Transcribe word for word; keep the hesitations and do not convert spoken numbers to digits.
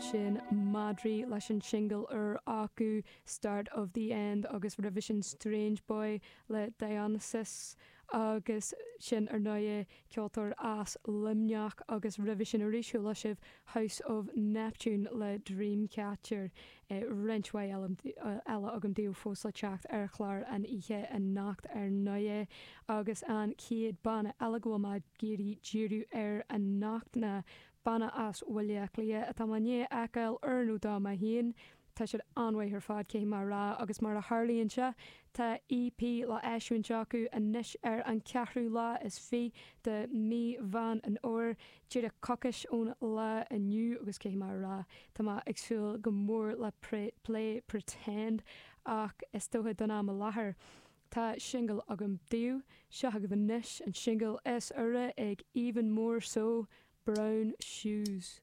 Sin Madraí leis an singil úr acu Start of the End agus roimhe sin Strange Boy le Dionysus agus sin ar ndóigh ceoltóir as Luimneach agus roimhe sin arís chuala sibh House of Neptune le Dreamcatcher eh, roinnt mhaith eile agam daoibh fós le teacht ar chlár an oíche anocht ar ndóigh agus an chéad banna eile go bhfuil mé ag iarraidh díriú air anocht ná banna as Baile Átha Cliath atá mé i ndiaidh a fheiceáil uair nó dhó mé féin. Tá siad an-mhaith ar fad caithfidh mé a rá agus mar a tharlaíonn sé tá EP le eisiúint acu anois ar an ceathrú lá is fiche de mí Mheán an Fhómhair díreach coicís ón lá inniu agus caithfidh mé a rá Tá mé ag súil go mór le Play Pretend ach is dócha don am i láthair. Tá singil agam daoibh seo agaibh anois an singil is úire ag Even More So Brown Shoes.